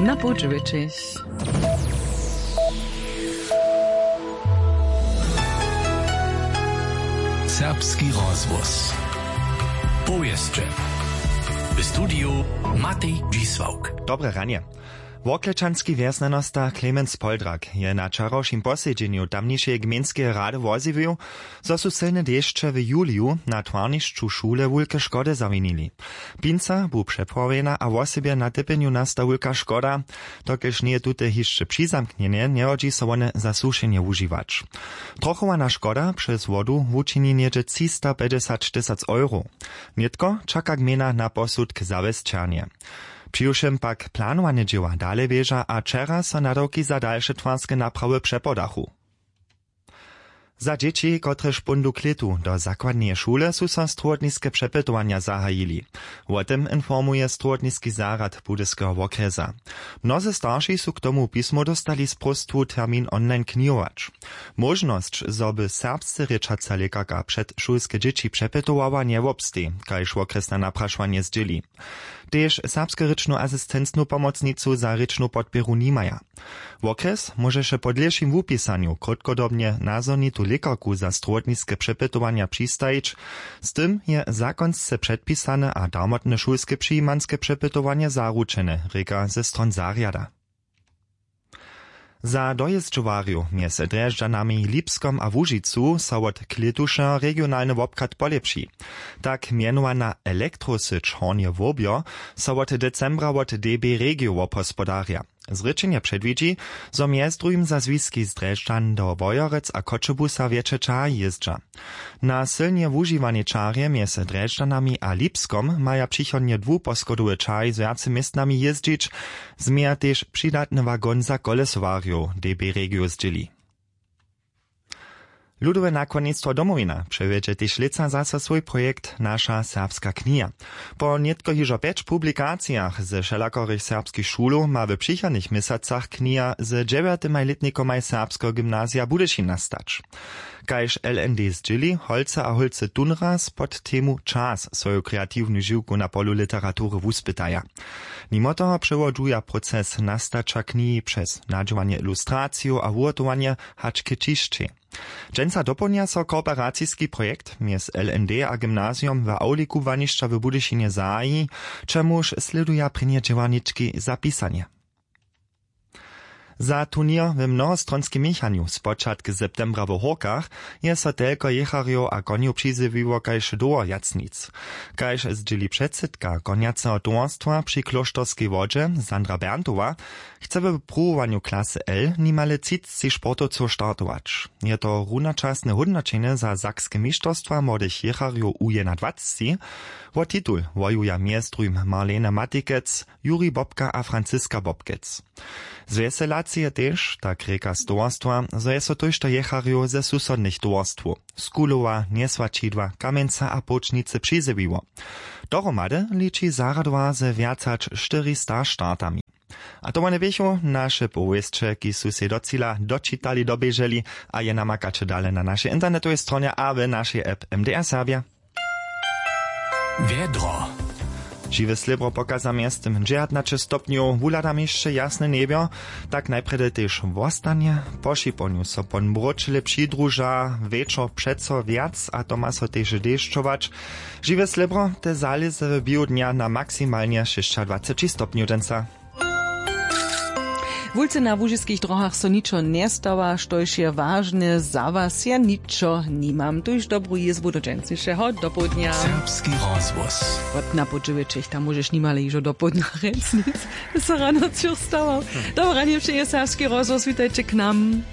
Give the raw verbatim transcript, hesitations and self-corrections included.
Na połdźe wječeć. Serbski rozhłos. Powěsće. W studiju Matej Dźisławk. Dobre ranje. Worklečanski wjesnjanosta Clemens Poldrak je na wčerawšim posedźenju tamnišeje gmejnskeje rady wozjewił, zo su sylne dešće w juliju na twarnišću šule wulke škody zawinili. Pinca bu přepławjena a wosebje na typjenju nasta wulka škoda. Dokelž njeje tute hišće přizamknjene, njehodźi so wone za sušenje wužiwać. Trochowana škoda přez wodu wučini něhdźe třistapjećdźesać tysac euro. Nětko čaka gmejna na posudk zawěsćernje. Přiwšěm pak planowane dźěła dale běža a wčera so nadawki za dalše twarske naprawy přepodachu. Za dźěći, kotrež póńdu k lětu do zakładneje šule, su so strowotniske přepytowanja zahajili. Wo tym informuje strowotniski zarjad Budyskeho wokrjesa. Mnozy starši su k tomu pismo dóstali z próstwu termin online knihować. Móžnosć, zo by serbsce rěčaca lěkarka předšulske dźěći přepytowała, njewobsteji, kaž wokrjesna naprašowanje zdźěli. Tež serbskorěčnu asistencnu pomocnicu za rěčnu podpěru nimaja. Wokrjes móžeše po dlěšim wupisanju krótkodobnje nazhonitu lěkarku za strowotniske přepytowanja přistajić. Z tym je zakonsce předpisane a darmotne šulske přijimanske přepytowanje zaručene, rěka ze stron zarjada. Za dojězdźowarjow mjez Drježdźanami, Lipskom a Łužicu so wot klětuša regionalny wobchad polěpši. Tak mjenowana elektrosyć Hornje Wobjo so wot decembra wot D B Regio wobhospodarja. Zrěčenje předwidźi, zo mjez druhim za zwiski z Drježdźan do Wojerec a Choćebuza wjetše ćahi jězdźa. Na sylnje wužiwanej čarje mjez Drježdźanami a Lipskom maja přichodnje dwuposchodowe čahi z wjace městnami jězdźić, změja tež přidatny wagon za kolesowarjow, D B Regio zdźěli. Ludowe nakładnistwo Domowina přewjedźe tež lětsa zaso swój projekt Naša serbska kniha. Po nětko hižo pjeć publikacijach ze wšelakorych serbskich šulow ma w přichodnych měsacach kniha z dźewjatymaj lětnikomaj Serbskeho gymnazija Budyšin nastać. Kaž L N D zdźěli, holcy a holcy tón raz pod temu Čas swoju kreatiwnu žiwku na polu literatury wuspytaja. Nimo toho přewodźuja proces nastaća knihi přez nadźěłanje ilustracijow a wuhotowanje hač k ćišćej. Dźensa dopołdnja so kooperaciski projekt mjez L N D a gymnazijom w awli kubłanišća w Budyšinje zahaji, čemuž slěduja prěnje dźěłarnički za pisanje. Za turněr w mnohostronskej měchanju spočatk septembra w Hórkach je so telko jěcharjow a konjow přizjewiło kaž dołho wjac nic. Kaž zdźěli předsydka konjaceho towarstwa při klóšterskej wodźe Sandra Berntowa, chce w pruwowanju klasy L nimale třicci sportowcow startować. Je to runočasne hódnoćenje za sakske mišterstwa młodych jěcharjow U jedynadwacci. Wo titul wojuja mjez druhim Marlene Matikec, Juri Bobka a Franziska Bobkec. Zwjeselacy je tež, tak rěka z towarstwa, zo je so tójšto jěcharjow ze susodnych towarstwow, z Kulowa, Njesłaćidła, Kamjenca a Połčnicy, přizjewiło. Dohromady liči zarjadowar ze wjac hač štyrista startami. A to wone běchu naše powěsće, kiž su sej do cila dočitali, doběželi, a je namakaće dale na našej internetowej stronje a w našej app M D R Serbja. Wjedro. Žiwe slěbro pokaza mjeztym dźewjatnaće stopnjow, wuhladam hišće jasne njebjo, tak najprjedy tež wostanje. Po šiponju so pon mróčele přidruža, wječor přeco wjac a to ma so tež dešćować. Žiwe slěbro te zalěze w běhu dnja na maksimalnje šěsćadwaceći stopnjow dźensa. Wulce na łužiskich dróhach so ničo njestawa, štož je wažne za was, ja ničo nimam. Tuž dobru jězbu do dźensnišeho dopołdnja. Serbski rozhłos. Wot na podźěłećich, tam móžeš nimale hižo dopołdnja rjec nic. So rano cur stawał. Dobre ranje přeje Serbski rozhłos, witajće k nam.